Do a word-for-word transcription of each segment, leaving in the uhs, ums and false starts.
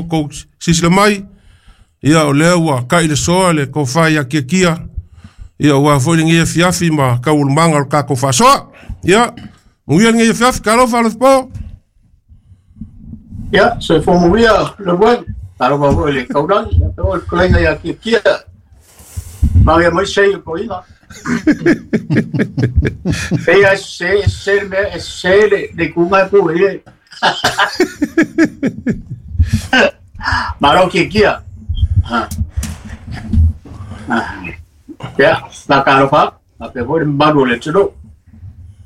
kou silasila mai ia o lea ua kai le soa le tofa ia Kiakia ia ua foi lenei afiafi ma taualumaga o le tatou faasoa. Ia manuia lenei afiafi, talofa Alofapo. Ia, soifua manuia Leuluai. Talofa foi i le taulagi, ia faapea foi le fetalaiga ia Kiakia. Manuia mai sei o toeaina. Pei lava e sese, e sese le mea, e sese le, le ituga e pule i ai. Malo Kiakia. Ia, faatalofa atu, faapea foi le mamalu o le atunuu.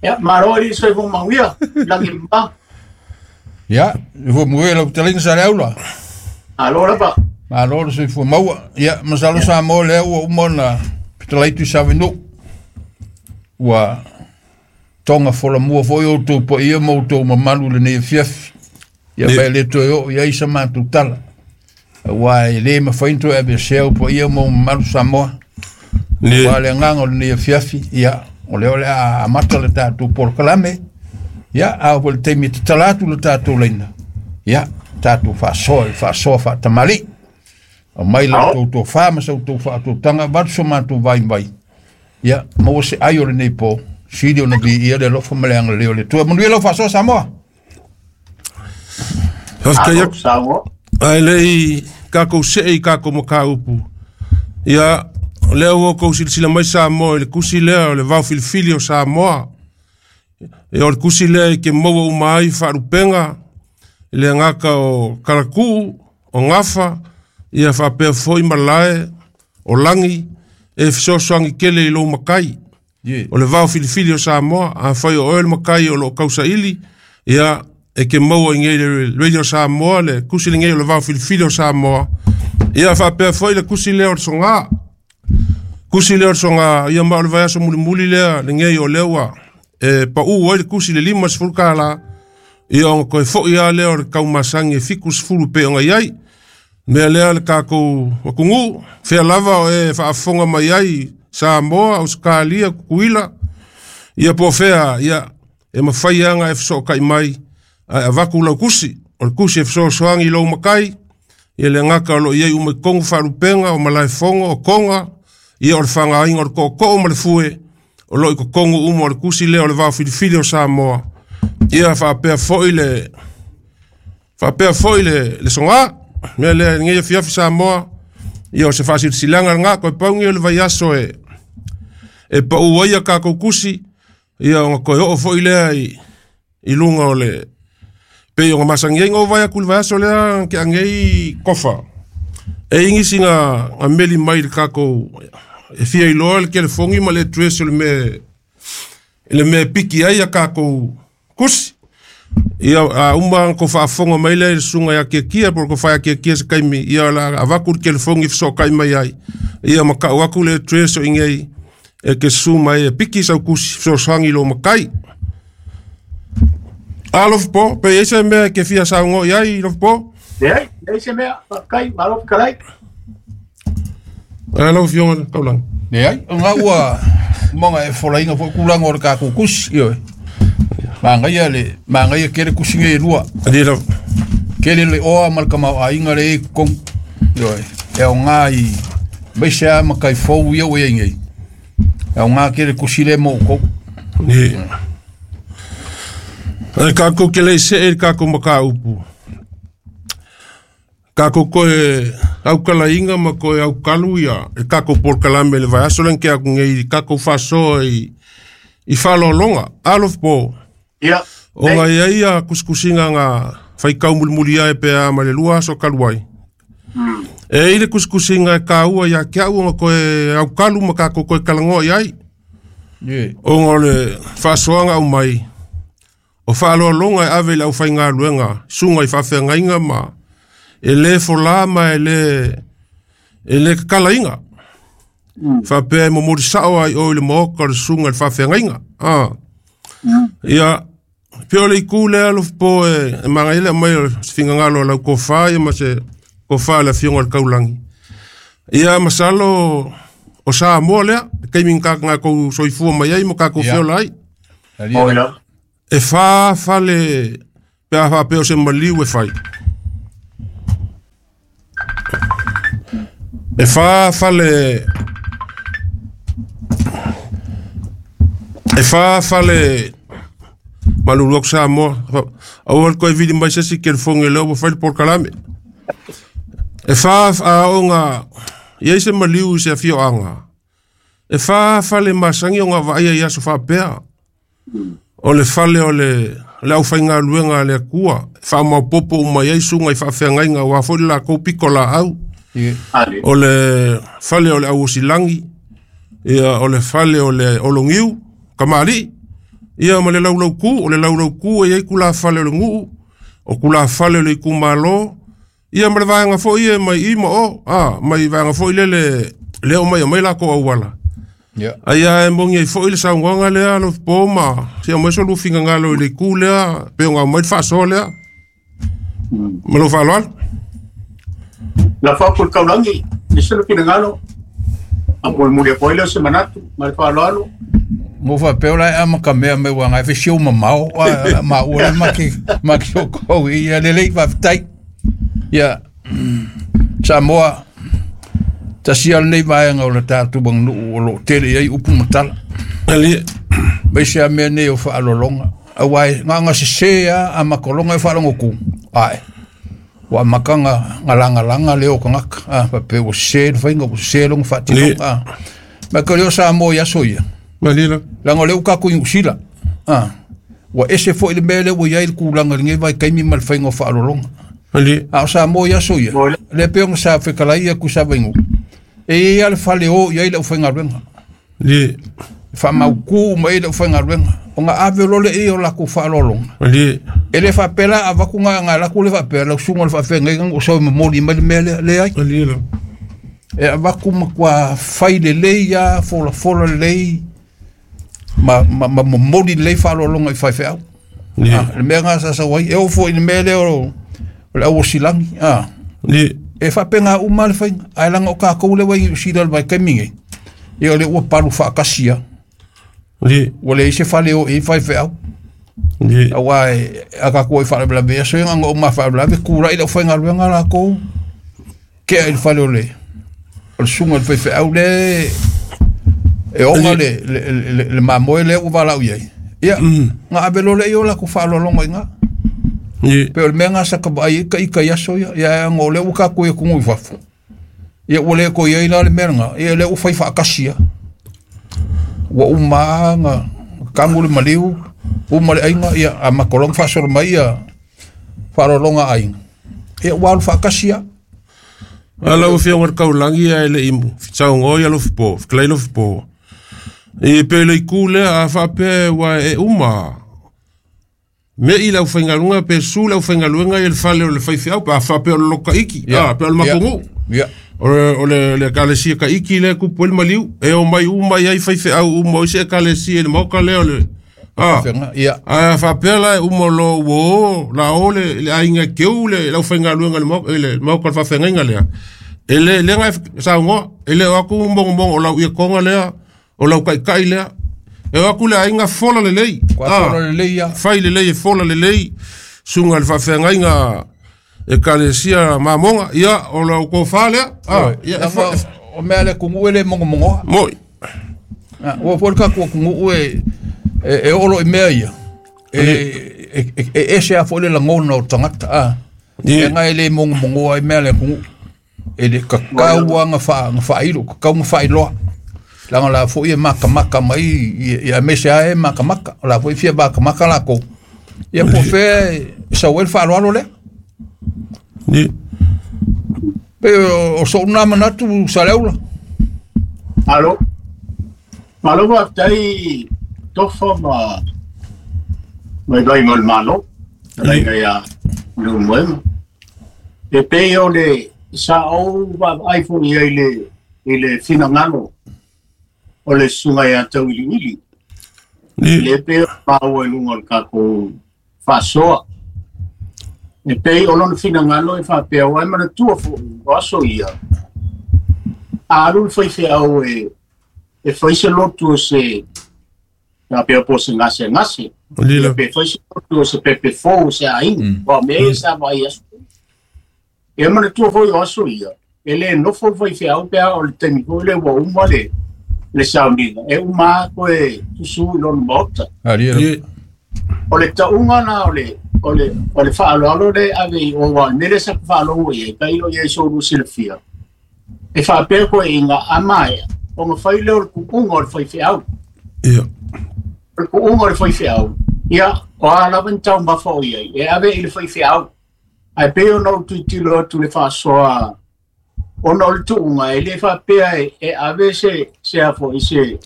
Ia, malo alii soifua manuia, lagi e mama. Ia, soifua manuia lau fetalaiga Saleaula. Malo lava. Malo le soifua maua. Ia, masalo Samoa lea ua uma ona fetalai Tuisavenu. Ua toga folamua foi outou paia ma outou mamalu i lenei afiafi. Ia ma e le toe oo i ai sa matou tala. Aua e le mafai ona toe aveesea ou paia ma ou mamalu Samoa. Aua le agaga o lenei afiafi, ia, o lea o le a amata le tatou polokalame. Ia, a oo foi i le taimi e tatala atu le tatou laina, ia, tatou faasoa i le faasoa faatamalii. Aumai la outou tofa ma sa outou faautautaga, avatu so matou vaivai. Ia, maua se ai o lenei po, sili ona viia le alofa ma le agalelei o le Atua. Manuia lau faasoa Samoa. Faafetai atu. Samoa. Ae le i tatou see i tatou mataupu, ia, o lea ua outou silasila mai Samoa i le tusi lea o le vaofilifili o Samoa. Ia, o le tusi lea e te maua uma ai faalupega i le gata o Talatuu, o Gafa, ia faapea foi malae o lagi e fesoasoani tele i lou matai. Yeah. O le vaofilifili o Samoa, afai o oe le matai o loo tausaili, ia e te maua i nei le Radio Samoa le tusi lenei o le vaofilifili o Samoa. Ia faapea foi le tusi lea o le Soga. Tusi lea o le Soga, ia ma o le vaiaso mulimuli lea lenei o lea ua e pau ai le tusi le lima sefulu tala, ia ona toe foi lava lea o le taumasagi e fitu sefulu pei ona i ai. Mea lea le tatou atunuu, fea lava o e faafofoga mai ai, Samoa, Ausetalia, Tutuila, ia po o fea, ia e mafai lava ona e fesootai mai ae avatu lau tusi. O le tusi e fesoasoani i lou matai, ia le gata o lo o i ai uma i totonu faalupega, o malaefono, o toga, ia o le fagaina o le tootoo ma le fue, o lo o i totonu uma o le tusi lea o le vaofilifili o Samoa. Ia faapea foi le faapea foi le, le soga. Mea lea i lenei afiafi Samoa, ia o se faasilasilaga lena, toe pau lenei o le vaiaso e e pau ai a tatou tusi, ia ona toe oo foi lea i, i luga o le pei ona masani ai na ou vaai atu i le vaiaso lea ke anei kofa. E i nisi na, na meli mai i le tatou e fia iloa le telefoni ma le address o le mea le mea e piki ai a tatou tusi. Ia a uma ona kou faafofoga mai lea i le susuga ia Kiakia po o le tofa ia Kiakia se taimi, ia o le a avatu le telefoni e fesootai mai ai. Ia ma tau atu le address o i inei e te susu mai e piki sau tusi fesoasoani i lou matai. Alofa po, pe i ai se mea e te fia saunoa i ai, Alofa po? Leai, leai se mea, faafetai, malo fetalai. Ae lau Afioga i le Taulagi. Leai, o lena ua uma ona e folaina foi tulaga o le tatou tusi, ioe. Manaia le manaia tele tusi nei e lua. Alii lava. Tele le oa ma le tamaoaiga lea e i totonu. Ioe, e aoga i aemaise lava matai fou ia ua i ai nei. E aoga tele tusi lea mo outou. Ni. Ae tatou te le i see i le tatou mataupu, tatou toe aukalaina ma toe aukalu ia le tatou polokalame i le vaiaso lea na tea atu nei i tatou faasoa i i faaaloaloga. Alofa po, Ia, ona nei. e i ai ia kusikusiga na faitau mulimuli ae pe a ma le lua aso talu ai. E i ai le kusikusiga e taua ia te au ona toe aukalu ma tatou toe talanoa i ai. Yeah. Ona o le faasoaga aumai, o faaaloaloga e ave i le aufaigaluega, susuga i faafeagaiga ma e le folā ma e le e le kakalaina. Faapea e momoli sao ai o i le maoka o le susuga i le faafeagaiga. Ah. Ia, pei o le itu lea Alofa po e, e manaia le aumai o se finagalo o lau tofa ia ma se tofa a le Afioga i le Taulagi. Ia masalo o Samoa lea, le taimi na tatou soifua mai ai ma tatou Ia. feola ai. Talia Oi la. lava. E fa fale pe a faapea o se maliu e fai. E wha fale E wha fale malulu aku Samoa au al koe vili mai sesi ke le foge leo ua fai le polokalame e wha aoga iai se maliu i se afioaga e wha fale masagi o gavaaia i aso faapea o le fale o le le aufaigaluega a le Akua faamaopopo uma ai suga i faafeagaiga auā foi le lakou piko laau o le fale o le auosilagi ia o le fale o le ologiu kamali'i ia ma le laulaukū o le laulaukū e iai kulafale o le gu'u o kulafale o le itumālō ia ma le vaega foi e mai i ma o a mai vaega foi lele lea o mai o mai lakou auala Yeah. Aia e mongi ai foi le saunoaga lea lo po ma si o mai so lufinga ngalo i le ku lea pe o mai faasoa lea ma lou faaaloalo La fa por kaulangi ni se lo finangalo a por muri po ile se manatu ma le faaaloalo Mo fa pe ola ama ka mea me wanga e whisi o mamao ma ua ma ki ma ki o kou i a lelei whawhitai. Ia Samoa tasi ale nei vaega o le tatou aganuu o loo tele i ai upu matala. Ali Mai se a mea nei o faalologa auā e gaga sesē a a makologa e faalogoku ae ua amakaga galagalaga le o tagata a faapea ua sesē le faiga ua sesē loga faatinoga a ma ke o lea o Samoa i aso ia malila laga o lea ua tatou i Niusila a ua ese foʻi le mea lea ua iai le kulaga i lenei vaitaimi ma le faiga o faalologa ali a o Samoa i aso ia lea pei ona sa fetalai atu i Savaigū e iai a le fale o i ai le aufaigaluega ali faamautū uma ai le aufaigaluega ona ave lo le ia o lakou faaaloaloga ali e le faapea la avaku ga laku le faapea lau suga o le faafeagaiga o sau e momoli mai le mea lea leai ali la e avaku matua fai lelei a folafola lelei ma, ma, ma momoli lelei faaaloaloga i faifeau ali ah, le mea ga sa sau ai e oo foʻi i le mea lea o o le auosilagi ah. ali E faapega uma le faiga ae laga o kakou le ua i Niusila i le vaitaimi nei ia o lea ua palu faatasi a ali ua leai se fale o i faifeau ali auā e a tatou ai faalavelave aso ia na ona ou mafaalavelave kulaʻi le aufaigaluega lakou kea i le fale o le o le suga i le faifeau le e oga le le le, le mamoe lea ua valaau i ai ia na ave loa lea i o lakou faaaloaloga i ina ali pe o le mea ga sa ka vaai ai ka ika i aso ia ia aga o lea ua tatou i atunuu i fafo ia ua le toe iai la le mea lena ia lea ua fai faatasi a ua uma a na kagu le maliu uma le aiga ia a makologa faasolo mai ia faaaloaloga a aiga ia ua alu faatasi a Ala o fia ngar kaulangi a ele imu saunoa ia lo po klai lo po e pe le ku le a fa pe wa e uma me i lau faingaluga pe su lau faingaluga i le fale o le faifeau pe a faapea o le loka iki Ia. a pe o le makogu ia o le o le le ekalesia ka iki le kupu ai le maliu e omai uma ai faifeau uma o isi ekalesia i le maoka lea o le a fega ia a faapea la e uma lo ua o la o le le aiga keu le lau faigaluega i le maoka i le maoka o le faafeagaiga lea e le lega e saunoa e le o aku mogomogo o lau iakoga lea o lau kaʻikaʻi lea e o aku le aiga fola lelei kua fola lelei ia fai lelei e fola lelei suga i le faafeagaiga ekalesia mamoga ia o lau kofā lea a ia e laga fa o mea le atunuu e le mogomogoa moi Ah, ua foi le tatou atunuu e e e oo loa i mea ia e e e- e ese a foi le lagona o tagata a Ie. e ga e le mogomogoa ai mea le atunuu e le kakau a ga faa ga faailo kakau ga faailoa laga la foʻi e makamaka mai i i aemaise a e makamaka o la foʻi fia makamaka lakou ia po o fea e sau ai le faaaloalo lea Ie. pe o o soʻu na manatu Saleaula Malo. Malo faafetai tofa ma mai vai mo le malo. Talaiga ia Leulumoega. E pei o le sa ou vaavaai foi ai le i le finagalo o le susuga ia tauiliili. Ie. Le pei o maua i luga o le tatou faasoa. E pei o lona finagalo e faapea ua e manatua foʻi o aso ia. A alu le faifeau e e fai se lotu o se faapea po o se gasegase. Ali Ia la pe fai se lotu o se pepe fou o se aiga. O mea ia sa vaai aso. E manatua foi o aso ia. E le nofo le faifeau pe a o le taimi foi lea ua uma le le sauniga e uma a koe susu i lona maota. O le tauga na o le o le o le faaaloalo le ave i o wa mele sa faalogo i ai kai o iai soulu silafia. E faapea koe inga amaea o nga fai lea o le kuuga o le faifeau. Ia. O le kuuga o le faifeau. Ia, o a lava ni taumafa o iai e ave i le faifeau. Ae pei ona ou tuitilo atu le faasoa ona o le tuuga e le faapea e, e ave se se afo i se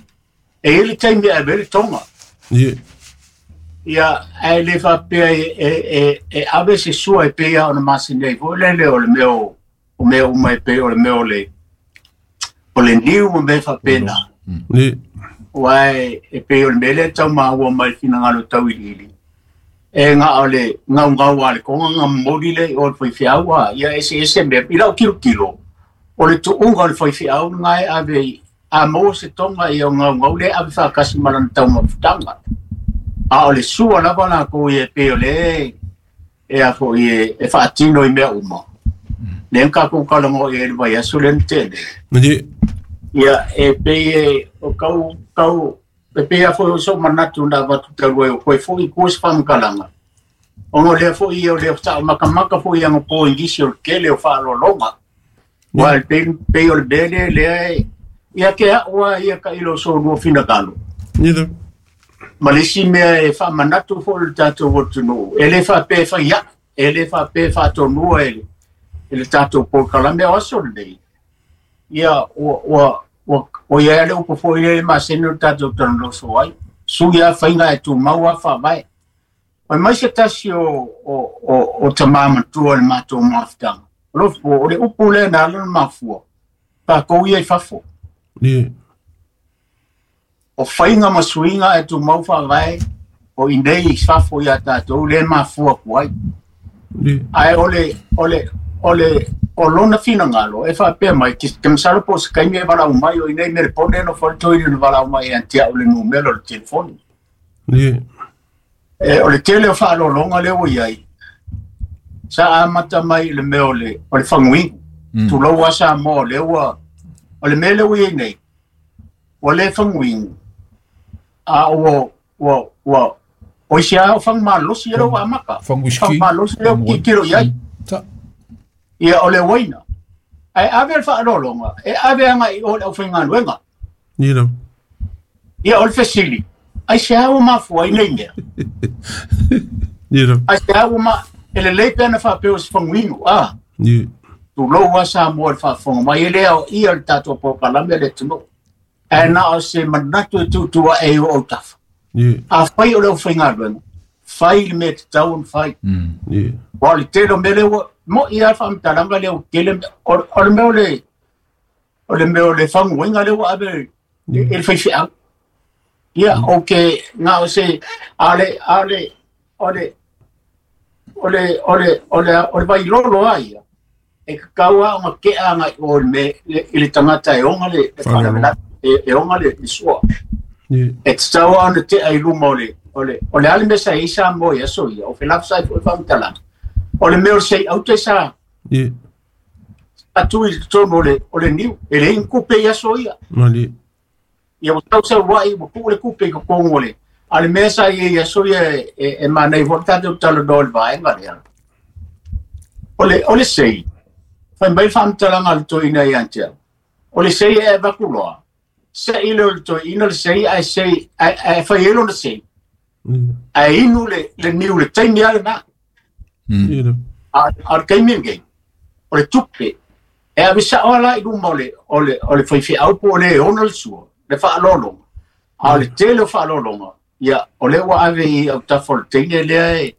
e i le taimi e ave le tonga. Ia. Ia, ae le faapea e, e, e, e ave se sua e pei ona masini ai foi lele o le mea o, o mea uma e pei o le mea o le o le niu ma mea faapena. Ia. Ua e, e pei o le mea lea tau maua mai finagalo tau iliili. E ngā o le ngau ngau a le konga ngā momoli le o le faifeau a ia ese ese mea i lau kilo kilo. O le tuuga o le faifeau ngā e ave a maua se tonga i o ngau ngau le ave whaakasi malana tau mafutanga. A o le sua lava la ko i e pei o le e a fo i e, e whaatino i mea uma. Le nka kou kalango i e le vai aso le ntele. Ia e pei e o kau kau e pei a foi o so manatu na watu talu e o koe foi ko se whamkalanga. Ono lea foi i o lea sa makamaka foi anga po ingisi o le kele o whaalolonga. Wa le pei, pei o le bele lea e ia ke aua ia ka ilo so lua finagalo. Ia. Ma le isi mea e whaamanatu fo le tātou atunuu. E le whaapea whai ia, e le whaapea whaatonua e le, e le tātou polokalame o aso lenei. Ia, ua, ua, ua, o ia le upo foi le maseni o le tātou talanoso ai. Sui a whainga e tūmau a whaavae. Oi mai se tasi o, o, o, o tamā matua le mātou mafutanga. O lo fo, o le upu lea na ala na mafua. Tākou ia i fafo. Ia. O whainga ma suinga e tūmau whaavae o inei i fafo ia tātou le mafua kuai. Ia. Ae o le, o le, o le, o lona finagalo e whaapea mai, ke, ke masalo po se kaimi e walau mai o inei mere pone no whaletoiri no walau mai e antia o le numero o le telefoni. Ia. E, o le tele o whaalolonga leo iai. Sa amata mai le mea o le, o le whanguingu. Mm. Tulou a sa mō leo a, o le mea leo iai nei. O le whanguingu. A ua, ua, ua, o isi a o whangmalosi e leo amaka. Whanguiski. Whangmalosi leo kikiro iai. Ta. Ia o le waina. Ae ave le whaalolonga. E ave anga i o le au whaingaluenga. Ia. Ia o le fesili. Ai se au mafua i nei mea. Ia. Ai se au ma e le lei pena whaapeo se whanguingu. Ah. Ia. Tulou a sa mua le whaafonga mai e lea o ia le tātou polokalame le tunu. Ae na o se manatu e tutua e o au tafa. Ia. A whai o leo whaingaluenga. Whai le mea te tau on whai. Mm. Ia. Wa le telo mele ua, mo ia whaamtalanga leo kele, o, o le mea o le, o le mea o le whanguinga leo ave e, e le whaiwhiau. Ia, o ke ngā o se, a le, a le, o le, o le, o le, o le, o le vailolo a ia. E kakaua o ngā kea ngā o le me, le, i le tangata e onga le, le whanawela, e, e onga le, le sua. Ia. E te taua ona te ai luma o le, o le, o le ale mesa e isa mo ia so ia, o whelapsa i fo whamtalanga. O le mea o le sei au te sa, Ia. atu i tonu o le, o le niu, e le inkupe ia so ia. Mali. Ia o tau sau wai, o ku le kupe i ka kongo le. A le mea sa ia ia so ia e, e, e manei fo tātou talo no le vaenga lea. O le, o le sei, whai mai whamtalanga le toina i antea. O le sei e vakuloa. Se i le o le toina le sei, ai sei, ai, ai whai elo le sei. Ia. Ai inu le, le niu le taimi ale nā. Mm. Ia. A, a le kaimi ngei. O le tupe. E ave sa o la i luma o le, o le, o le whaiwhiau po o le ona le sua. Le whaalolonga. A o le tele o whaalolonga. Ia, o le ua ave i au tafa o le teine lea e,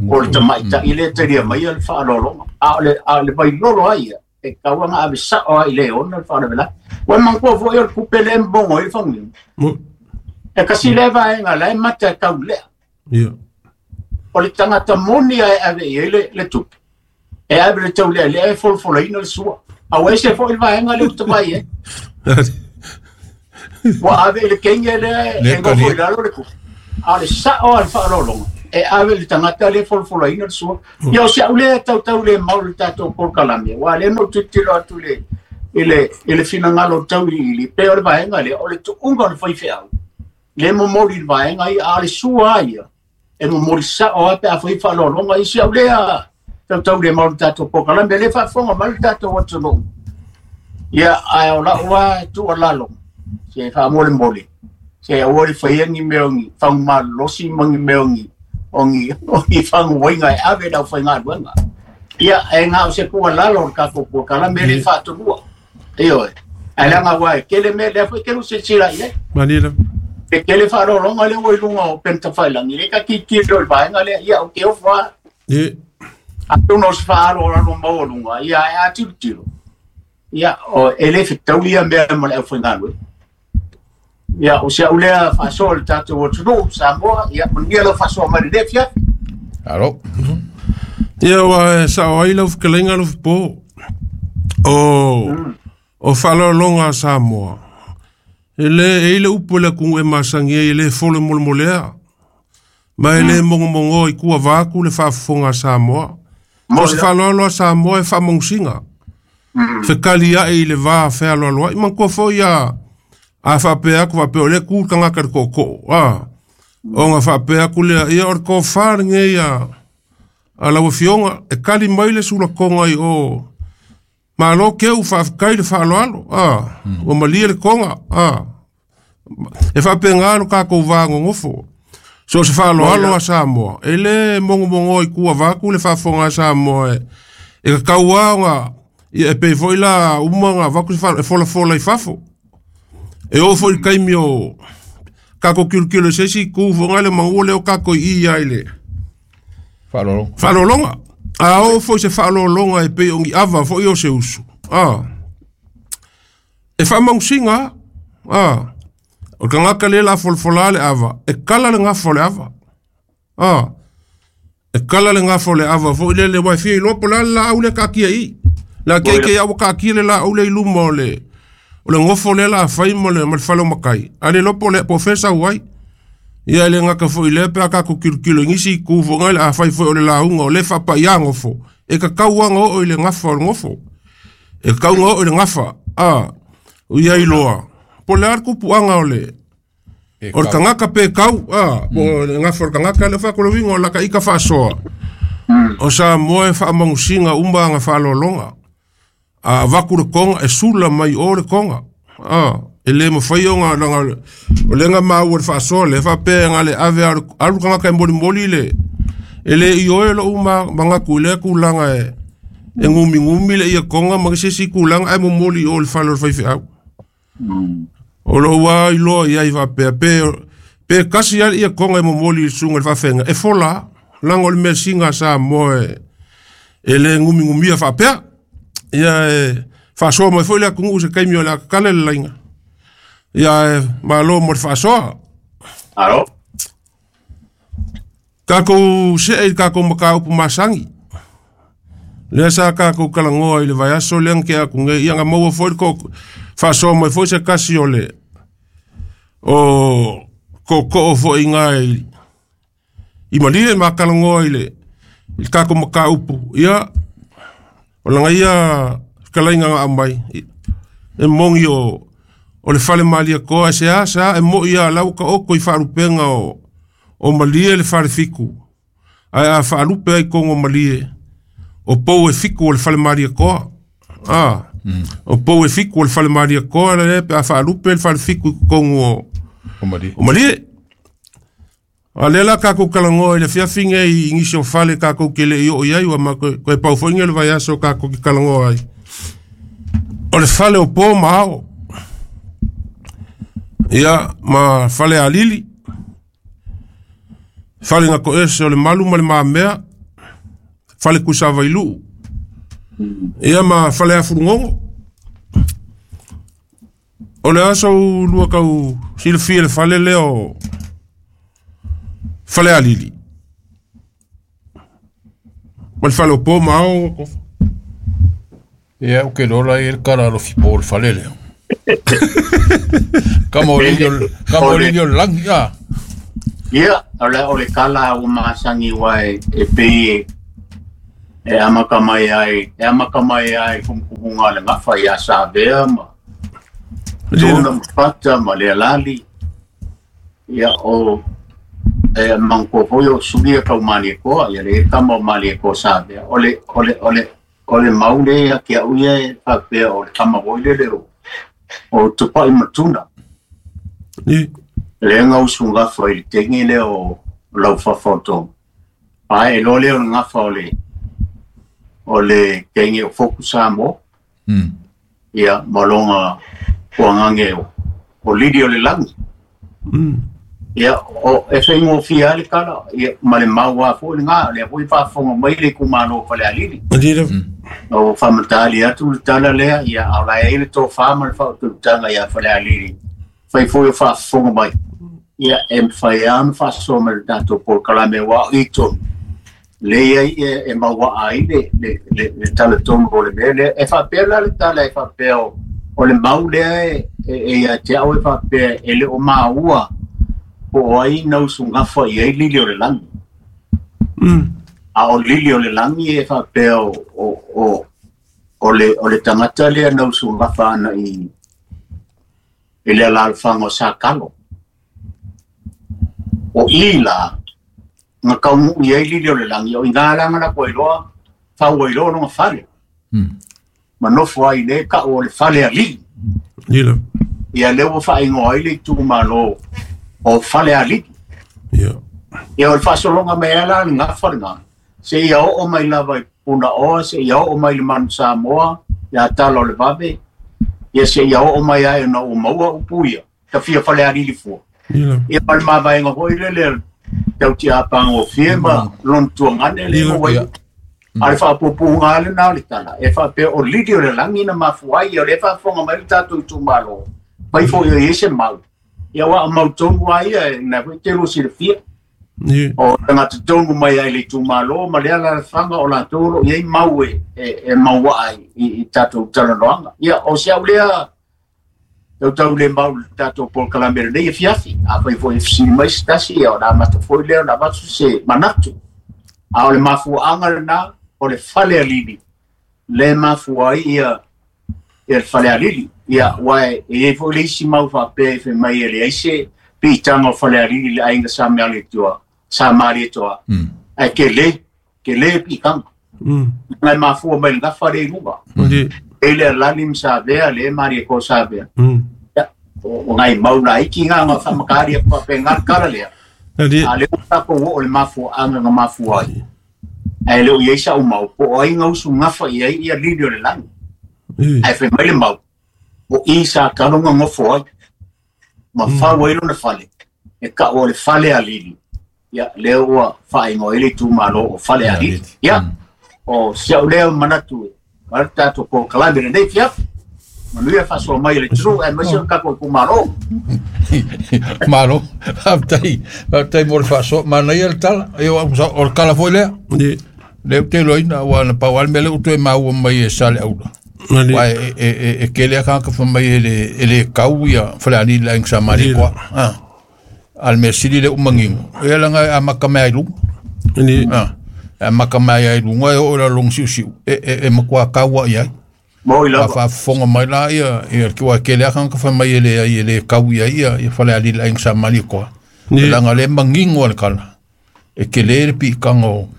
o le tamaitai lea talia mai a le whaalolonga. A o le, a le vailolo ai ia. E kauanga ave sa o ai le ona le whaalawela. Ua mangkua fo i o le kupe le mbongo i le whangiu. Mo. E kasi le vaenga la e mata e kau lea. Ia. O le tangata moni ai ave i le, le tupe. E ave le tau lea lea e folofoloina le sua. A ua ese fo i le vaenga le utawai e. Ua ave i le kenge lea Le e ngofo i kari. lalo le kupe. A le sao a le whaalolonga. e ave le tagata le folafolaina le sua. Ia o si au lea tautau le mau le tatou polokalame, ua lea na ou tilotilo atu le i le i le finagalo tauiliili pe o le vaega lea o le tuuga o le faifeau le momoli le vaega ia a le sua ia e momoli sao a pe a fai faaaloaloga i si au lea tautau le mau le tatou polokalame le faafofoga mai le tatou atunuu. Ia ae o lau lava tuualalo se faamolemole se aua le faia ni mea o ni fagumalolosi ma ni mea o ni o ni o ni faguaiga e ave le aufaigaluega. Ia e na o se tuualalo o le tatou polokalame le faatonua. Ioe ae leaga ua e tele mea lea foi ke lu silasila i ai. Malie e tele faaaloaloga lea ua i luga o penitafailangi le tatilotilo i le vaega lea ia o ke ofo lava. Ie atonu o se faaaloalo maualuga ia ae a tilotilo ia o e le fetaui ia mea ma le aufaigaluega. Ia o si au lea faasoa le tatou atunuu Samoa ia manuia lau faasoa mai lenei afiafi. Alo. Ia ua e sao ai lau fetalaiga Alofipo o o faaaloaloga a Samoa. E le e i le upu le atunuu e masani ai e le folo molemolea. Ma e le mogomogoa i tua vaatu le faafofoga a Samoa. O se faaaloalo a Samoa e faamanusiga. Fekali ae i le va fealoaloai. Manatua foi a a faapea atu faapea o lea tu le tagata i le tootoo. A ona faapea atu lea ia o le tofa lenei a a lau afioga e kali mai le sulatoga i o malo keu faafetai le faaaloalo. A ua malie le toga. A e faapena lo tatou va nonofo. So se faaaloalo a Samoa e le mogomogoa i tua vaatu le faafofoga a Samoa e e kakau lava ona ia e pei foi la uma ona avatu se faaaloalo e folafola i fafo. E oo foi i le taimi o tatou tilotilo i se isi itu foi le maua lea o tatou i i ai le Faaaloaloga. faaaloaloga. A oo foi se faaaloaloga e pei o ni ava foi o se usu. A e faamanusiga a o le tagata lea o le a folafola le ava e kala le gafa o le ava. A e kala le gafa o le ava foi lele ua e fia iloa po o le a le laau lea e taatia i i. Le a keikei a ua taatia le laau lea i luma o le o le gofo lea o le a fai ma le ma le fale o matai. A le iloa po o le po o fea e sau ai. Ia e le gata foi i lea pe a tatou tilotilo i nisi itu foi le a fai foi o le lauga o lea e faapaia gofo e tatau lava ona oo i le gafa o le gofo. E tatau ona oo i le gafa. A o ia iloa po o le a le tupuaga o le Pe o le kau. tagata pe kau a po o le gafa o le tagata lea fai atu le uiga o lata ita faasoa. O Samoa e faamanusiga uma aga faaaloaloga. A avatu le toga e sula mai o le toga. A e le mafai ona laga o lea na maua i le faasoa lea faapea na le ave alu alu tagata e molimoli le e le ioe lou ma manatu i lea tulaga e e gumigumi le ia toga ma se isi tulaga ae momoli i o i le fale o le faifeau. O lou lava iloa i ai faapea pe pe kasi lava le ia toga e momoli i le susuga i le faafeaiga e fola laga o le measina a Samoa e e le gumigumia faapea. Ia e faasoa mai foi le atunuu i se taimi o le a tatala le laina. Ia e malo mo le faasoa. Alo. Tatou see i le tatou mataupu masani. Lea sa tatou talanoa i le vaiaso lea na tea atu nei. Ia na maua foi le ko faasoa mai foi se tasi o le o tootoo foi i ina i i Malie ma talanoa i le i le tatou mataupu. Ia o laga ia fetalaiga na aumai e moni o o le fale Malietoa e se a sa e moi lava la ua taoto i faalupega o o Malie le fale fitu. Ae a faalupe ai i totonu o Malie o pou e fitu o le fale Malietoa. A o pou e fitu o le fale Malietoa lea pe a faalupe le fale fitu i totonu o O Malie. o Malie. A lea la tatou talanoa i le afiafi nei i nisi o fale tatou te le i oo i ai ua ma koe koe pau foi nei o le vaiaso tatou te talanoa ai. O le fale o po ma ao. Ia ma fale alili. Fale na toese o le malu ma le mamea. Fale Tuisavailuu. Ia ma fale Afulugogo. O le aso lua tau silafia le fale lea o fale alili. Ma le fale o po ma ao. Ia, o ke lola i le kala alofi po o le fale lea. Kama o lili o kama o lili o le langi a. Ia, o le o le kala ua masangi wai e pei e amaka mai ai, e amaka mai ai kumukumunga le ngafa ia Savea ma tuna mafata ma le alali. Ia o e mangko foi o sulia kau mali koa, ia le kama o mali koa Savea. O le, o le, o le, o le maule ia kia uia e whapea o le kama hoi le o, o tupai matuna. Ni. Le nga usu ngafa i le tengi le o lau whawhautonga. Ai, e lo leo le ngafa o le o le kenge o foku Samoa. Mm. Ia, malonga kuangange o, o lidi o le langi. Mm. Ia, o e whaingo fia le kala, ia, ma le maua fo le ngā, le hui whaafonga mai le kumano whale alili. Alili. Mm. O whamatali atu le tala lea, ia, au lai e le tō whaama le whaututanga ia whale alili. Whai fo i whaafonga mai. Ia, e mwhai anu whaasoa me le tātou pōkalame wā i tonu. Le ia e, e maua ai le, le, le, le tala tonu o le mea lea. E whapea la le tala e whapea o, o le mau lea e, e, e ia te au e whapea e le o maua o ai nausu ngafa i ai lili o le langi. Mm. A o lili o le langi e whapea o, o, o, o, le, o le tangata lea nausu ngafa ana i, i le alalfanga o Sakalo. O i la, nga kaungu i ai lili o le langi, o i ngā langa la koe loa, whau ai loa longa whale. Mm. Manofo ai le ka o le whale a lili. Lila. Ia leo whaingo ai le tūmalo o whale a lili. Ia. Ia o le whasolonga me ala le ngā whale ngā. Se ia o o mai lava i puna oa, se ia o o mai le manu Samoa, ia tala o le vave, ia se ia o o mai ai na o maua upuia, ka fia whale a lili fua. Lila. Ia pale mavaenga hoi le le tau tia apanga o fie ma lon tuangane le Lila. mo wai. Ia. A le whaapupunga ale nā le tala. E whaapea o lili o le langi na mafuai, o le whaafonga mai le tātou tūmalo. Pai fo ia ese mau. Ia wa mau tonu ai ia, na fo te lo si le fia. Ni. O tangata tonu mai ai le tūmalo, ma le ala le whanga o la tōlo, ia i mau e, e, e maua ai i, i tātou talanoanga. Ia, o se au lea, tau tau le mau le tātou pōkalamere nei e fiafi. A fai fo e fisili mai se tasi, ia o nā mata foi lea, o nā matu se manatu. A o le mafuaanga le nā, o le fale alili. Le mafua ai ia, ia le fale alili. Ia, wae, e e fo le isi mau whapea i whai mai e le aise, piitanga o fale alili le ainga sa mea le tua, sa maari e toa. Mm. Ai ke le, ke le piitanga. Mm. Ngai mafua mai le ngafa le iluga. Ni. E le alali msavea, le maari e ko savea. Mm. Ia, o o ngai mau na iki ngā ngā whamakari e whapea ngā kara lea. Ali. A le o tako o le mafua anga ngā mafua ai. Ai le o iei sa umau, po ai ngā usu ngafa i ai ia lili o le langi. Ni. Ai whai mai le mau, o i sa kalonga ngofo ai. Ma whau ai lona whale. E ka o le whale a lili. Ia, leo ua whaingo ele tūmalo o whale a lili. Ia, o sia o leo manatu e. Wara tātou ko kalamere nei fiafi. Manuia whasoa mai le tru, e mai se kako i kumaro. Malo, whaptai, whaptai mo le whasoa, mana ia le tala, e o o le kala foi lea. Ni. Le te loina, wa na pau ale mele utu e maua mai e sale aula. Ali. Wa e e e e kele aka ka fa mai e le e le kau ia fale ali la ing sa mari Lila. kwa. Ah. Al me sili le umangingo. E la nga amaka mai lu. Ni. Ah. Amaka mai ai lu ngai o la long siu siu. E e e makwa kaua ia. Mo i A lava. fa fonga mai la ia ia ki wa kele aka ka fa mai e le e le kau ia ia ia fale ali la ing sa mari kwa. Ni. La nga le mangingo le kala. E kele le pi kango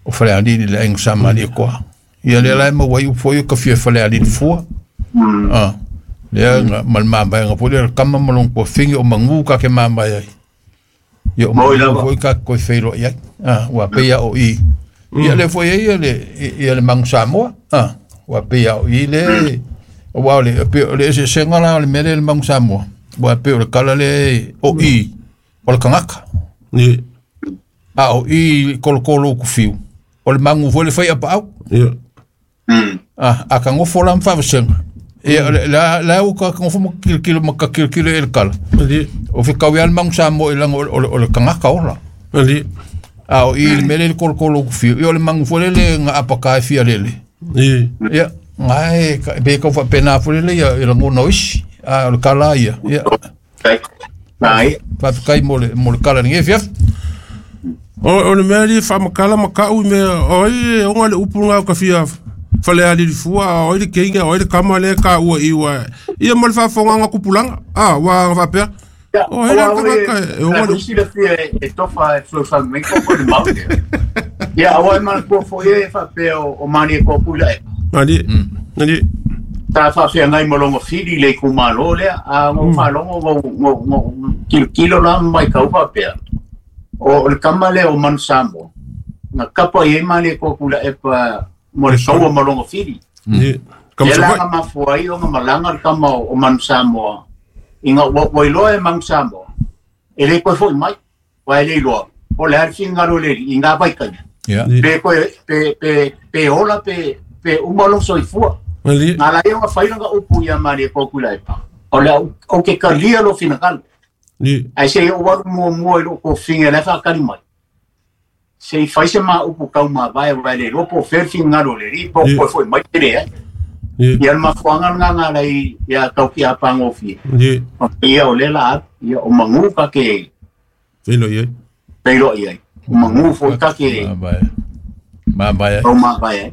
o fale ali la ing sa mari kwa. Ia le la ma wai u foi ka fia fale ali fua. Mm. Ah. Lea nga mal mama nga po le kama malong po fingi o mangu ka ke mama ai. Ia o Moi mangu lava. foi ka koi feilo ia. Ah, wa pe ia o i. Ia le foi ia le ia le mangu Samoa. Ah, wa pe ia o i le o wa le pe le se senga la le mele le mangu Samoa. Wa pe o le kala le o i o le kangaka. Ni. A o i kolokolo ku fiu. O le mangu foi le fai apa au. Ia. Mm. Ah, a ka ngofo la mfavasenga. Ia la la o ka ngofo mo kilokilo ma ka kilokilo e le kala. Ali. O fe kau ia le mangu Samoa i langa o le- o le kangaka ola. Ali. A o i le mele le kolokolo ku fiu. Ia o le mangu foi le nga apaka e fia lele. Ni. Ia, ngai ka be ka fa pena foi le ia i langa no isi. A o le kala ia. Ia. Kai. Nai. Faafetai mo le mo le kala lenei afiafi. O o le mea lia faamakala ma ka'u i mea o ai e oga le upu lagā o kafia falealilifua o ai le keiga o ai le kama lea kāua i ua ia ma le faafofogaga tupulaga a ua faapea o ai le tagata e oga le upu. Silafia e tofa e fesoasoani mai ko le mau. Ia aua e manatua foi e faapea o mani e kopu i la e. Nani nani Ta faafeagai ma loga fili le itumalo lea a gou faalogo gou gou kilokilo la ma maitau faapea o le kama lea o Manu Samoa na kapa i ai mani e Tuilaepa mo le kaua ma loga fili. Ni kama Lea la Savaii. ga mafua ai ona malaga le kama o Manu Samoa ina ua ua iloa e Manu Samoa e le toe fo'i mai ua e le iloa o le a le finagalo o le alii i gā vaitaimi Ia. pe toe pe pe pe ola pe pe uma lou soifua Nani na la ia ona fai lana upu ia mani e Tuilaepa o le au ke kalia lou finagalo ni ae sei ou alu muamua i lou tofiga e lae faakali mai sei fai se ma upu taumavae ua e le iloa po o fea le finagalo o le alii po o toe fo'i mai pe leai ni ia le mafuaga lagā galai ia taukiapagofie ni ia o lea la alu ia o magū kake feilo i ai feiloai ai o magū foi kake Mavae. Mavae. taumavae ai.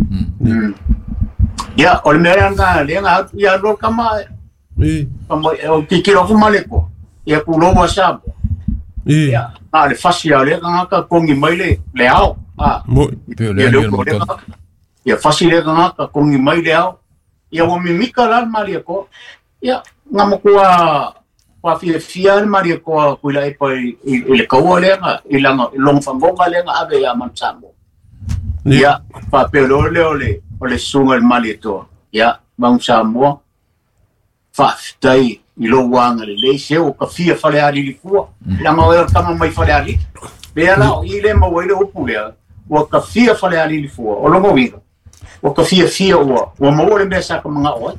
Ia o le mea lea lagā lea ga atu ia alu kama ni kama o kikilo aku ma le koa ia pulou a Samoa ni ia na o le fasi a o lea tagata kogi mai le le ao a mo Pe o le ia le ani o le upu o lea motona. tagata ia fasi lea tagata kogi mai le ao ia ua mimika la le Malietoa ia gamatua fafiafia le Malietoa Tuilaepa i i le kaua lea ga i laga i loga fagoga lea ga ave iā Manu Samoa ni ia faapea loa lea o le o le susuga i le Malietoa ia Manu Samoa faafetai i lou agalelei se ua kafia falealilifua laga oe o le tama mai falealili pea la o i le maua ai le upu lea ua kafia falealilifua o loga uiga ua kafiafia ua ua maua le mea sa ka maga'o ai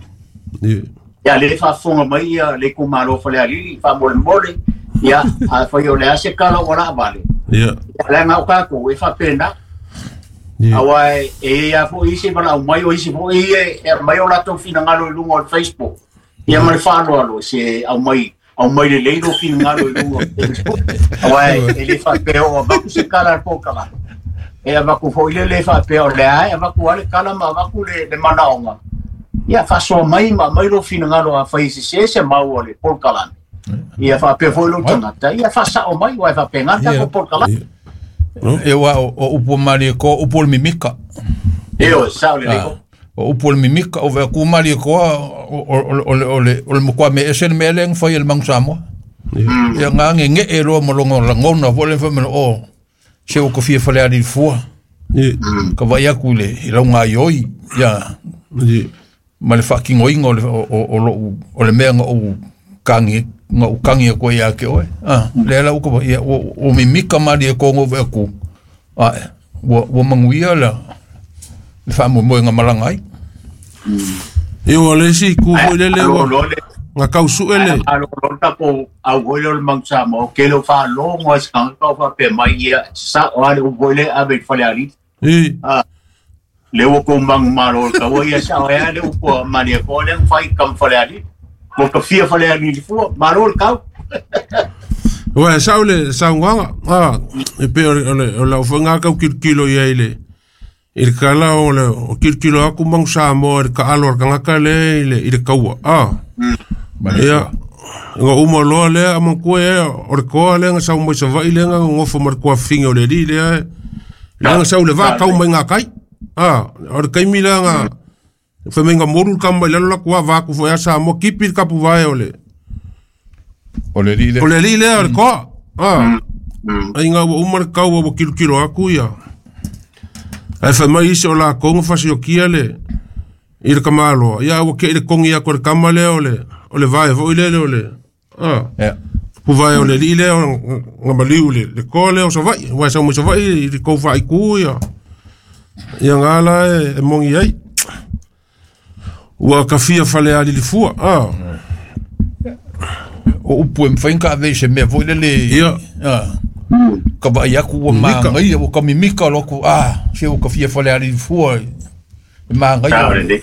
ni ia le faafofoga mai ia le itumalo falealili faamolemole ia afai o le a se kala ua laavale ia ia leaga o tatou e faapena ni aua e e ia fo'i isi valaau mai o isi fo'i e e aumai o latou finagalo i luga o le Facebook ia ma le faaaloalo se aumai aumai lelei lou finagalo i luga o le Facebook aua e le faapea o avatu se kala a le polokalame e avatu fo'i le le faapea o lea e avatu a le kala ma avatu le le manaoga ia faasoa mai ma aumai lou finagalo afai e sesē se mau o le polokalame ia faapea foi lou tagata ia faasa'o mai ua e faapegā le tatou polokalame E ua o o upu o Malietoa, upu o le mimika. e o sa'o lelei Ah, O upu o le mimika, o vea ku Malietoa, o o o le o le o le matua me ese le mea lea na fai e le Manu Samoa. Ia ngā nge e loa ma longa langona fo le whamena o se o kofia falealilifua. ni Ka vai aku i le i lau ngā ioi, ia ni ma le whakingoinga o le, o, o, o, lou- o le mea nga ou kangi, nga ou kangi a koe ia ke oe. Ah, lea la uka, ia, o, o mimika mali e kongo vea ku. Ah, ua, ua manguia la, le whaamoemoe nga malanga ai. Ia ua le isi ku foi lele Alo ua lo le ga kausu'e le alo lo tatou au foi lea o le Manu Samoa o ke leo faalogo ai se tagata o faapea mai ia sa'o a le upu foi lea ave i le falealili i a le ua kou magumalo o le taua ia sa'o ai a le upu a Malietoa lea na fai kama falealili ua kafia falealili fua malo le kau. Ua sa'o le saugaga a e pei o le o le o lau foi gā kaukilokilo i ai le i le kala o le o kilokilo aku Manu Samoa i le kaalo a le tagata lea i le i le kaua a ia ga uma loa lea amatua e o le koa lea ga sau mai Savaii lea ga gogofo ma le kuafiga o le alii lea e lea ga sau le vā mai gā kai a o le taimi lea ga femaiga molu le kama mai lalo laku a vaku foi a Samoa kipi le kapuvae o le O le li le. o le alii lea o le koa a aiga ua uma le kaua ua kilokilo aku ia ae femai isi o lakou ga fasiokia le i le kamaloa ia ua ke'i le kogi aku e le kama lea o le o le vae fo'i lele o le a Ia. puvae o le alii lea o ga maliu le le koa lea o Savaii ua e sau mai Savaii i le kou faaikū ia ia gā la e e mogi ai ua kafia falealilifua a O upu e mwhainga ka ave i se mea foi lele. Ia. Ah. Ka vai aku ua Mimika. maangai, ua ka mimika loku, ah, se ua kafia falealilifua e maangai. Sa'o lelei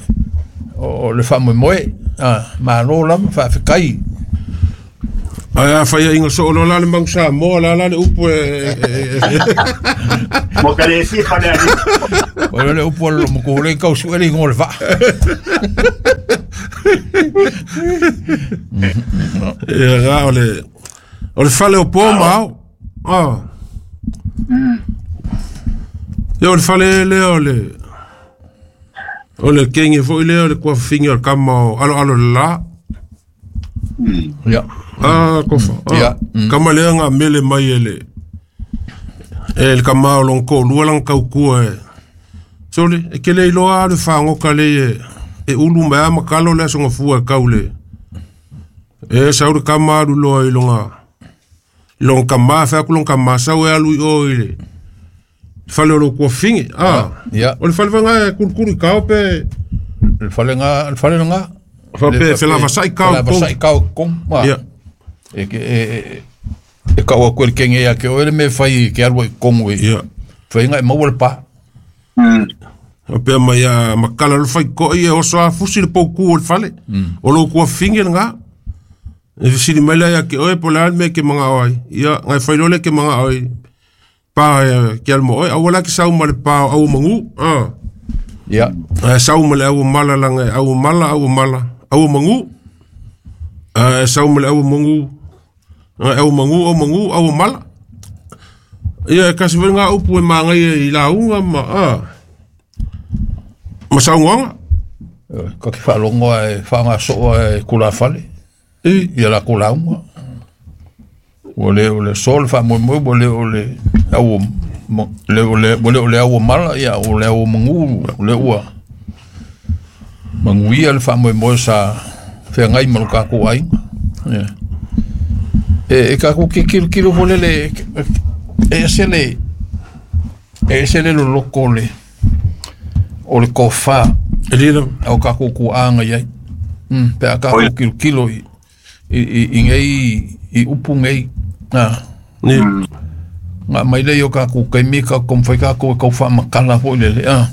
O, o le whaamoemoe, ah, malo lama, whaafekai. Ai a fai inga so lo la le mangu sa mo la la le upu e mo ka le si fa le o le upu lo mo ko le kau su ele ngol va e ra o le o le fale o po mau ah yo le fale le o le o le kenge foi le o le kwa fingi o kama alo alo la ya ah kofa ya kama le nga mele mai ele el kama o lonko lua lang kau kua e sole e kele iloa le fango kale e e ulu mai ma kalo le songa fua kaule e sauru kama alu loa ilonga long kama fa ku long kama sau e alu o ile fale lo kwa fingi ah ya o le fale nga kulkuru ka pe le fale nga le fale nga fa pe fela vasai kau fela vasai kau kom ma ya e ke e e ka o ko kenge ya ke o le me fai ke alu kongo e ya fai nga mo le pa mm o pe mai a makala le fai ko e o so a fusi le pouku o le fale o lo kwa fingi nga e sili mai la ya ke o e pola me ke manga oi ya ngai fai lo le ke manga oi pa ke al mo oi awala ke sau ma le pa au mangu ah ya sau ma le au mala la ngai au mala au mala au mangu ah sau ma le au mangu au mangu au mangu au mala ia kasi venga upu e mangai i la unga ma ah ma sau ngonga ka ki whalongo e whanga soa e kula fale e ia la kula unga o le o le sol fa mo mo o le o le au le o le o le o le au mala ia o le au mangu o le ua mangu ia le fa mo mo sa whangai ma lo kako ai e e kako ke kilo kilo fole le e se le e se le lo loko le o le kofa e lila au kako ku anga iai mm pe a kako kilo kilo i i i ngai i upu ngai ah ni nga mai le yo kako kai mi ka kom fai kako ka fa makala fo le ah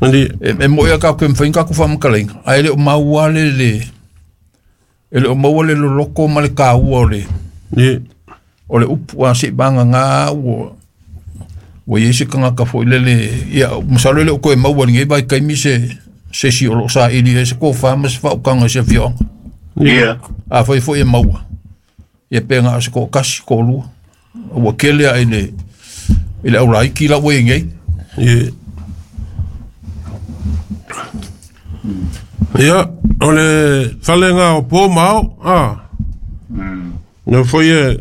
ni e e mo ia kako em fai kako fa makala ai le o maua le le e le o maua le loko ma le ka ua le ni o le upu a se banga nga ua o ye se kanga ka fo le le ia masalo le ko e maua ngai vai kai mi se se si o lo sa ili e se ko fa ma se fa o kanga se fio ia a foi foi e maua ia penga se ko kasi ko lu o kele ai le ile au lai ki la we ngai ye ia o le falenga o po mau ah no foi e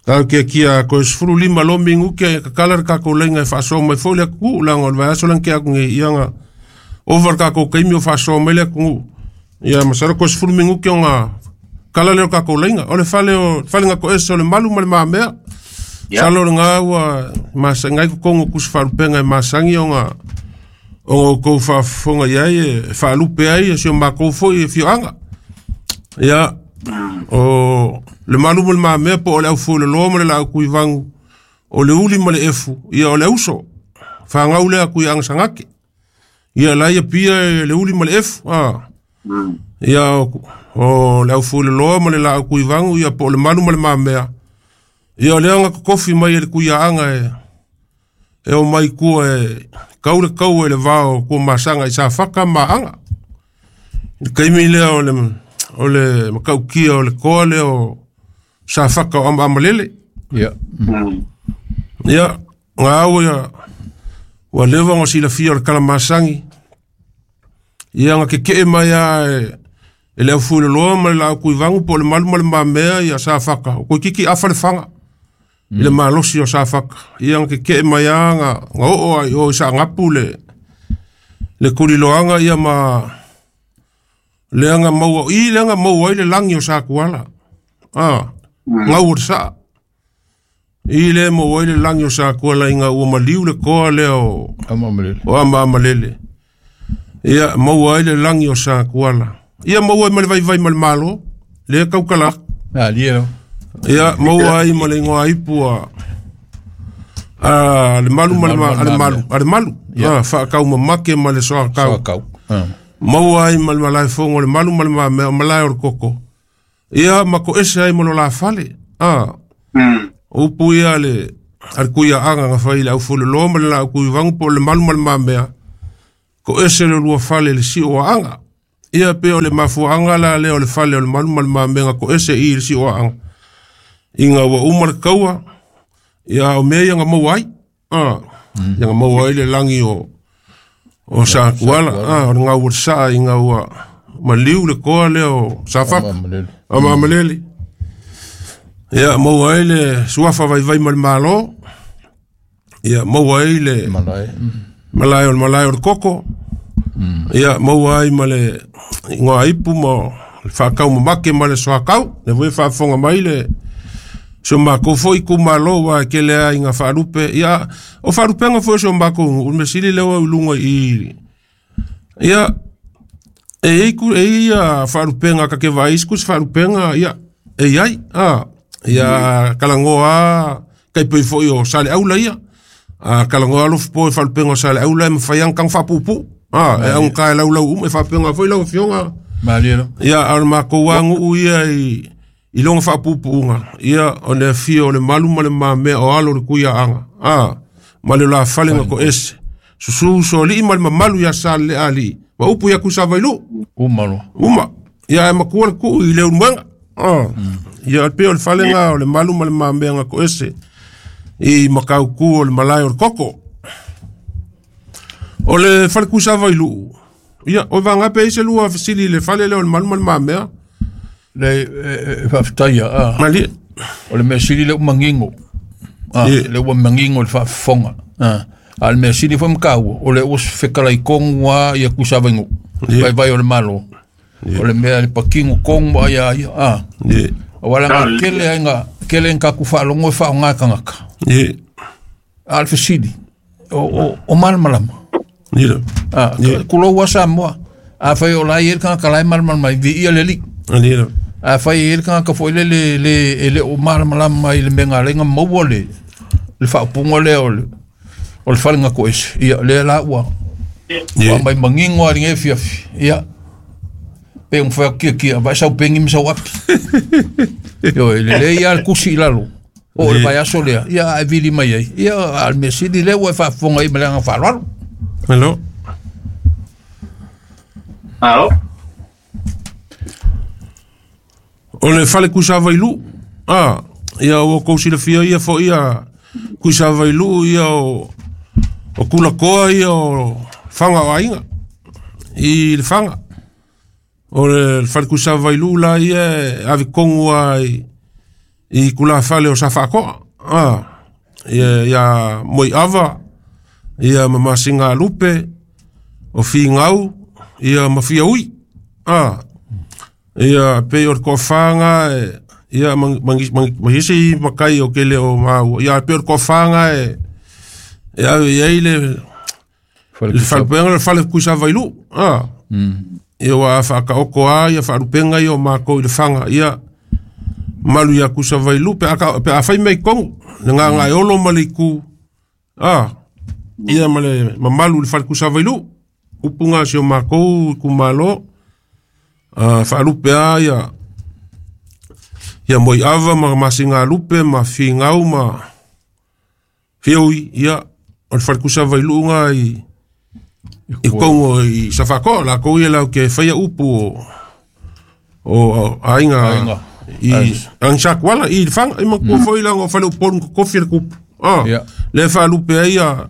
ka ke kia ko sfuru lima lo mingu ke ka kala ka ko lenga fa so mai foi le ku la ngol va so lan ke aku ngi ia nga over ka ko kai mi fa so mai le ku ia masara ko sfuru mingu ke nga kala le ka ko lenga o le fale o falenga ko eso le malu ma le mamea salo nga ua masangai ko kongo kus falupenga e masangi o nga o ko fa fonga ia e falupe ai se o mako foi e fioanga ia o le malu mo le mamea po o le au fo le loa ma le lau kui vangu o le uli ma le efu ia o le uso whangau lea kui anga sangake ia la ia pia le uli ma le efu ah. Ia o, o le au fo le loa ma le lau kui vangu ia po o le malu ma le mamea ia o le anga kokofi mai e le kui anga e e o mai kua e kau le kau e le vao kua masanga i sa whaka ma anga i kaimi lea o le o le makaukia o le koa lea o sa whaka o ama amalele ia ia ngā au ia ua lewa ngā silafia o le kalamasangi ia ngā kekee mai a e e le au fui le loa ma le lau kui vangu po o le malu ma le mamea ia sa whaka o koe kiki awha le whanga i le malosi o sa whaka ia ngā kekee mai a ngā ngā oo ai o i sa ngapu le le kuliloanga ia ma le anga maua i le anga maua ai le langi o sa kuala ah ngau o sa i le maua ai le langi o sa kuala i ngā ua maliu le koa le o amamalele o ama amalele ia maua ai le langi o sa kuala ia maua ai ma le vaivai ma le malo le kaukala ah lie ia maua ai ma le ingoa ipu a a le malu ma le ma a le malu a le malu ah whaakau mamake ma le soa kau soa kau ah maua ai ma le malae fongo le malu ma le mamea o malae o le koko Ia ma ko ese ai mo lo la fale. Ah. Upu ia le al kuia anga nga fai le au fulu lo ma le la kui vangu po le malu ma le mamea. Ko ese le lua fale le si o anga. Ia pe o le mafu anga la le o le fale o le malu ma le mamea ko ese i le si o anga. Inga ua uma le kaua. Ia o mea ia nga mau ai. Ah. Ia nga mau ai le langi o o sa kuala. Ah, o ngau o sa inga ua maliu le koa le o safaka. Ama malele. Ia mau ai le suafa vai vai mal malo. Ia mau ai le malai. Malai o malai o koko. Ia mau ai male ngoa ipu mo whakau mamake ma le soakau. Le voi whaafonga mai le so mako foi ku malo wa ke le ai nga whaarupe. Ia o whaarupenga foi so mako o mesili lewa ulunga i. Ia e ei ku e ia whaarupenga ka ke vais ku whaarupenga ia e ai a ia kalangoa kai pei foi o sale aula ia. A kalangoa lo po whaarupenga sale aula e mawhaiang kang whapupu. Ah, e ang kai lau lau um e whaapenga foi lau fionga. Malielo. Ia ar mako wangu ia i i longa whaapupuunga. Ia o le fio o le malu ma le mamea o alo le kuia anga. Ah, ma le la falenga ko ese. Susu so li ma le mamalu ia sa le ali. Ma upu ia kusavailu. Uma lo. Uma. Ia e makua le kuu i le unwenga. Ah. Ia pe o le falenga o le malu ma le mamea nga ko ese. I makau ku o le malai o le koko. O le fale kusavailu. Ia, o vanga pe ise lua fisili le fale le o le malu ma le mamea. Le whaftaia, ah. Mali. O le mea sili le umangingo. Ah, le umangingo le whaafonga. Ah. A le mea sili fo mkau, o le os whekala i kongua ia kusavaingu. Vai vai o le malo. O le mea le pakingo kongua ia ia. Ah. O wala nga kele ainga, kele nga kuwhaalongo e wha o ngā kangaka. A le fisili. O, o, o malamalama. Ah, kulo ua Samoa. A whai o lai e kangaka lai malamalama i vi ia le li. A whai e kangaka fo le le le le o malamalama i le menga lenga maua le le whaapunga le o le o le whalenga ko ese. Ia le la ua. Ua mai mangingo a ringe fiafi. Ia. Pe un whai kia kia. Vai sau pengi misau api. Io le le ia le kusi i lalo. O le vai aso lea. Ia a vili mai ai. Ia al mesili le ua e whaafonga i melanga whaalwalo. Hello. Alo. O le fale kusavailu. Ah, ia o kousilafia ia fo ia kusavailu ia o o kulakoa ia o fanga o ainga. I le fanga. O le fale kusavailu la ia ave kongua i i kula fale o safaakoa. Ah, ia ia moi ava ia mamasinga lupe o fingau ia mafia ui. Ah, ia pe o kofanga ia mangi mangi makai o kele o mau ia pe o kofanga e ia ia ile le falpenga le fale kusavailu. Ah, ia wa fa ka okoa ia fa rupenga ia mako ile fanga ia malu ia kusavailu pe aka pe afai mai kongu nga nga olo maliku. Ah, ia male mamalu le fale kusavailu upunga sio mako kumalo. Uh, whaalupe a ia ia moi ava ma masinga lupe ma fingau ma fioi ia o le whalikusavailu nga i i kongo i safako la ko ia lau ke whaia upu o o ainga i angsakwala i fang i makua foi langa o whale uponu kofi le kupu. Ah, le whaalupe a ia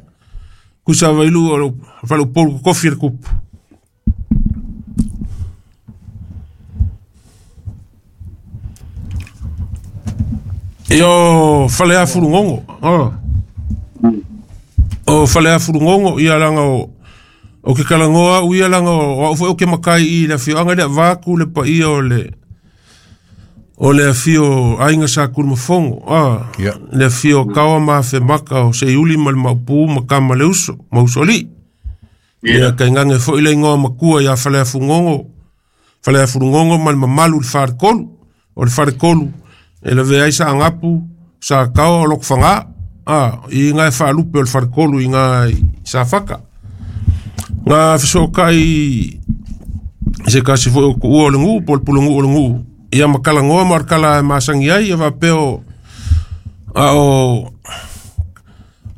kusavailu o whale uponu kofi le kupu. Io fale a furungongo. Ah. O fale a furungongo ia langa o o ke kalangoa u ia langa o o ke makai i le fio anga le vaku le pa ia o le o le fio ainga sa kurmafongo. Ah. Le fio kawa ma fe maka o se uli mal mapu makama le uso, mausoli. Ia ka ngange fo ile ngoa makua ia fale a furungongo. Fale a furungongo mal mamalu le farkolu, o le farkolu. E le vea isa angapu sa kao o lok whanga. Ah, i ngai whaalupe o le wharkolu i ngai sa whaka. Ngā whisokai se kasi fo o kuua o le ngu, po le pula ngu o le ngu. Ia makalagoa ma o le kala e masagi ai ia faapea o a o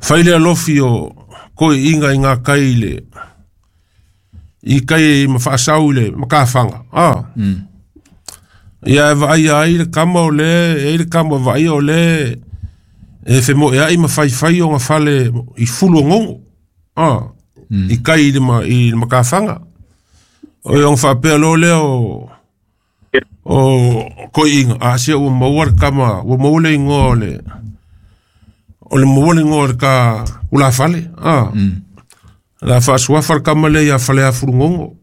fai le alofi o koi'iga i gakai i le i kai ma faasau i le makafaga a ia e vaaia ai le kama o le e ai le kama vaaia o le e femoea'i ma faifai oga fale i fulu ogogo a i kai i le ma i le makafaga o e oga faapea loa lea o o koi'iga a sia ua maua le kama ua maua le igoa o le o le maua le igoa o le ka ulafale a la faasuafa le kama lea ia Faleafulugogo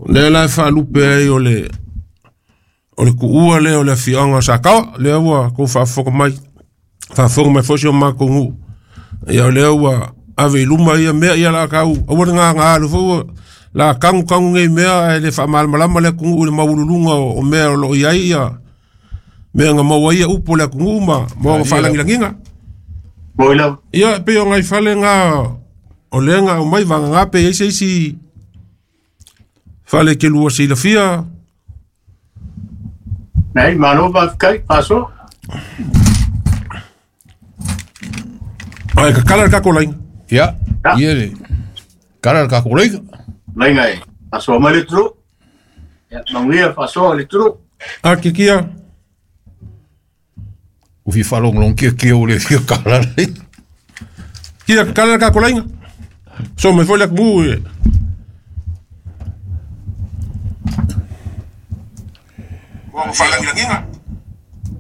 lea la e faalupe ai o le o le kuua lea o le afioaga o Sakaoa lea ua kou faafofoga mai faafofoga mai foi si o makou nuu ia o lea ua ave i luma ia mea ia la kau aua le gagā foi ua la kagu kagu nei mea ae le faamalamalama le atunuu i le maualuluga o, o mea o loo i ai ia mea na maua ia upu o le atunuu ma ma ona faalagilagiga Moi lava. Ia e pei o nai fale ga o lea na aumai vagagā pe i ai se isi fale ke lua silafia. Nei, malo faafetai, faasoa. Ai kakala le kako laina. Ia, Ya. ia le kala le kako leiga. Laina e faasoa mai le tulu. Ia, manuia faasoa le tulu. A kikia. U fi whalonglong kia kia o le fia kala le. Kia kakala le kako laina. So mai foi le atunuu e.